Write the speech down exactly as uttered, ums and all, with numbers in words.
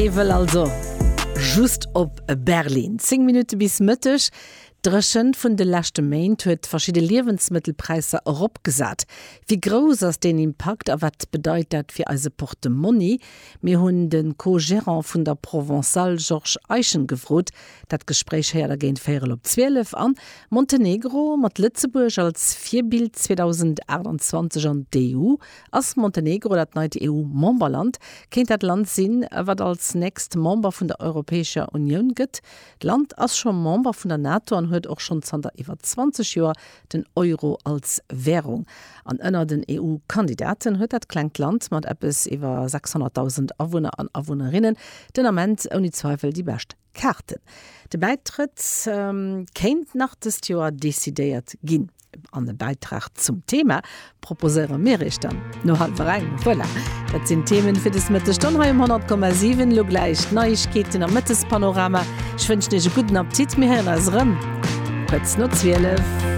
Ee wëll also just op Berlin. Zéng Minutte bis Mëtteg. D'Dréchent vun de leschte Méint huet verschidde Liewensmëttelpräisser eropgesat. Wéi grouss ass deen Impakt a wat bedeit dat fir eise Portemonni? Mir hunn de Co-Gerant vun der Provençale Georges Eischen gefrot. Dat Gespréich héiert der géint véierel op zwielef. An Montenegro mat Lëtzebuerg als Virbild zweedausendachtundzwanzeg an d'E U. Ass Montenegro dat neit E U-Memberland? Kéint dat Land sinn, wat als nächst Member vun der Europäescher Unioun gëtt? D'Land ass scho Member vun der NATO an huet och schonn zanter iwwer zwanzeg Joer den Euro als Wärung. An ënner den E U-Kandidaten huet dat klengt Land mat eppes iwwer sechshonnertdausend Awunner an Awunnerinnen den Ament ouni Zweifel déi bescht Kaarten. De Bäitrëtt kéint nach dëst Joer decidéiert ginn. An e Bäitrag zum Thema proposéiere mir iech dann no hallwer eng. Voilà, dat sinn d'Themen fir des Mëttesstonn hei um honnert Komma siwen. Elo gläich d'Neiegkeeten am Mëttespanorama. Ech wënschen iech e gudden Appetit. Mir héieren eis erëm kuerz no zwielef.